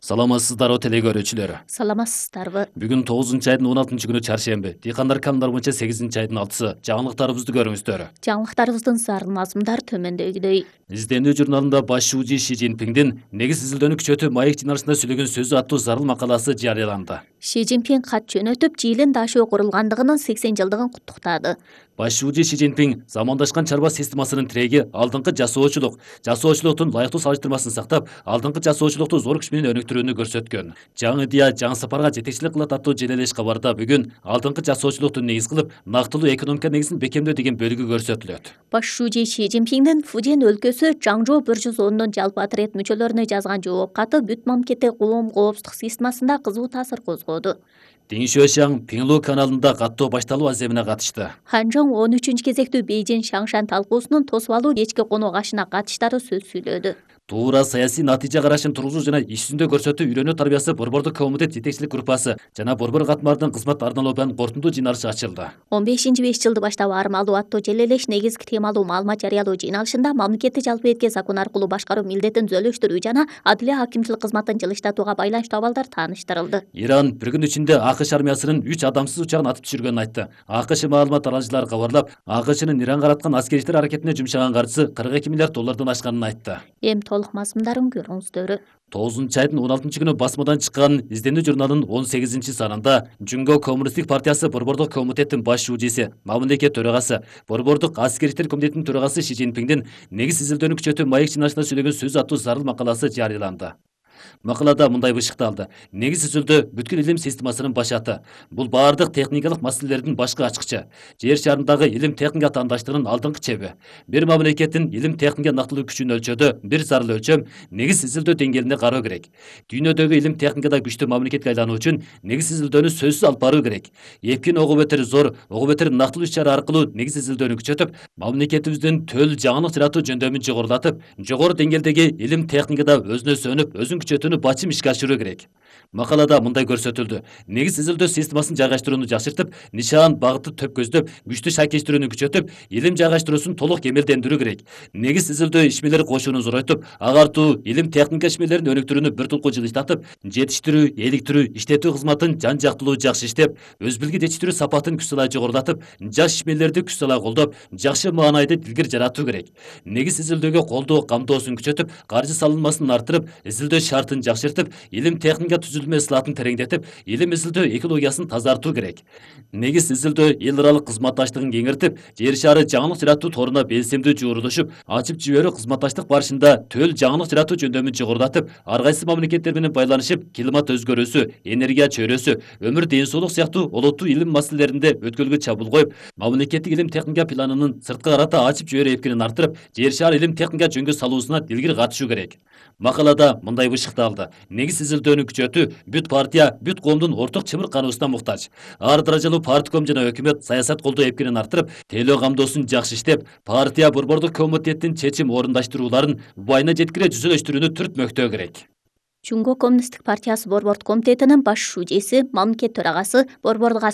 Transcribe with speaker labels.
Speaker 1: Саламатсыздарбы теле көрүүчүлөр.
Speaker 2: Саламатсыздарбы.
Speaker 1: Бүгүн 9-айдын 16-күнү чаршемби. Дыйкандар календарь боюнча 8-айдын 6-сы. Жаңылыктарыбызды көрүңүздөр.
Speaker 2: Жаңылыктарыбыздын зарын мазмундар төмөндөгүдөй.
Speaker 1: Изденүү журналында баш шүүжү Ши Цзиньпиндин негиз изилдөөнү күчөтүү маек жыйналышында сүйлөгөн сөзү аттуу зарыл макаласы жарыяланды.
Speaker 2: Ши Цзиньпин кат жөнөтүп, ЖИЛин дашоо курулгандыгынын 80 жылдыгын куттуктады.
Speaker 1: Баш шүүжү Ши Цзиньпин замандашкан чарба системасынын тиреги алдыңкы жасоочулуктун ылайыктуу салыштырмасын сактап, алдыңкы жасоочулукту зор күч менен өнүктүрүүнү көрсөткөн. Жаңы идея жаңы сапарга жетекчилик кылат аттуу желелеш кабарда бүгүн алдыңкы жасоочулукту негиз кылып, нактылуу экономика негизин бекемдөө деген бөлүгү көрсөтүлөт.
Speaker 2: Баш шүүжү Ши Цзиньпиндин Фуден өлкөсү Чаңжоу 110 жалпы отряд мүчөлөрүнө жазган жооп каты бүт мамлекеттик коомдук системасында кызуу таасир козгоду.
Speaker 1: Дин Шуэшаң Пиңлу каналында каттоо башталуу аземине катышты.
Speaker 2: Ханжоң 13-кезектүү Бейжин Шаңшан талкуусунун тосуп алуу кечки конок ашына катыштары сөз сүйлөдү.
Speaker 1: Туура саясий натыйжа карашын тургузуу жана иш жүзүндө көрсөтүү үйрөнүү тарбиясы борбордук комитет жетекчилик группасы жана борбор катмардын кызмат арналообунун кортундуу жыйналышы ачылды.
Speaker 2: 15-5 баштап армалуу аттуу желелеш негизги темалуу маалымат жарыялоо жыйналышында мамлекеттик жалпы этке закон аркылуу башкаруу милдетин түзөлүштүрүү жана адилия акимчилик кызматын жылыштатууга байланыштуу абалдар тааныштырылды.
Speaker 1: Иран бир күн ичинде АКШ армиясынын 3 адамсыз учагын атып түшүргөнүн айтты. АКШ маалымат аралыcıлары кабарлап, АКШнын Иранга караткан аскери иштер аракетине жумшаган каржысы $42 миллиард ашканын айтты.
Speaker 2: Эми толук мазмундарын көрүңүздөр.
Speaker 1: 9-айдын 16-күнү басмадан чыккан изденүү журналынын 18-санында Жүнгө Коммунисттик партиясы борбордук комитеттин баш шүүжүсү, мамлекет төрагасы, борбордук аскери иштер комитетинин төрагасы Ши Цзиньпиндин негиз изилдөөнү күчөтүү маек жыйналышында сүйлөгөн сөзү аттуу зарыл макаласы жарыяланды. Макалада мындай бышыкталды. Негиз изилдөө бүткүл илим системасынын башаты. Бул баардык техникалык маселелердин башкы ачкычы. Жер шарындагы илим техника атаандаштыгынын алдыңкы чеби. Бир мамлекеттин илим техника нактылуу күчүн өлчөөдө бир зарыл өлчөм негиз изилдөө деңгээлинде кароо керек. Дүйнөдөгү илим техникада күчтүү мамлекетке айлануу үчүн негиз изилдөөнү сөзсүз алып баруу керек. Эпкин ого бетер зор, ого бетер нактылуу иш-чара аркылуу негиз изилдөөнү күчөтүп, мамлекетибиздин төл жаңылык жаратуу жөндөмүн жогорулатып, жогору деңгээлдеги илим техникада өзүнө сөнүп, өзүн күчөтүүнү бачым ишке ашыруу керек. Макалада мындай көрсөтүлдү. Негиз изилдөө системасын жайгаштырууну жакшыртып, нишан, багытты төп көздөп, күчтүү шакештирүүнү күчөтүп, илим жайгаштыруусун толук кемелдендирүү керек. Негиз изилдөө ишмелери кошууну зоройтуп, агартуу, илим техника ишмелерин өнүктүрүүнү бир тулку жылыштатып, жетиштирүү, иликтирүү, иштетүү кызматын жан-жактылуу жакшы иштеп, өз билги жетиштирүү сапатын күч салай жогорулатып, жаш ишмерлерди күч салай колдоп, жакшы маанайды илгир жаратуу керек. Негиз изилдөөгө колдоо камтоосун күчөтүп, каржы салынмасын артырып, изилдөө шартын жакшыртып, илим техника түзүлмө ысылатын тереңдетип, илим изилдөө экологиясын тазартуу керек. Негиз изилдөө эл аралык кызматташтыгын кеңиртип, жер шары жаңылык жаратуу торуна белсемдүү жуурулушуп, ачып жиберүү кызматташтык барышында төл жаңылык жаратуу жөндөмүн жогорулатып, ар кайсы мамлекеттер менен байланышып, климат өзгөрүүсү, энергия чөйрөсү, өмүр ден соолук сыяктуу олоттуу илим маселелеринде өткөлгө чабуул коюп, мамлекеттик илим техника планынын сырткы карата ачып жиберүү эпкинин арттырып, жер шары илим техника жөнгө салуусуна илгир катышуу керек. Макалада мындай бышыкталды. Негиз изилдөөнү күчөтүү бүт партия, бүт коомдун орток чымыркануусуна муктаж. Ар даражалуу партком жана өкмөт саясат колдоо эпкинин арттырып, тейлөө камдоосун жакшы иштеп, партия борбордук комитеттин чечим орундаштырууларын убайына жеткире жүзөлөштүрүүнү түртмөктөө керек.
Speaker 2: Жүнгө Коммунисттик партиясы борбордук комитетинин баш шүүжеси, мамлекет төрагасы, борбордук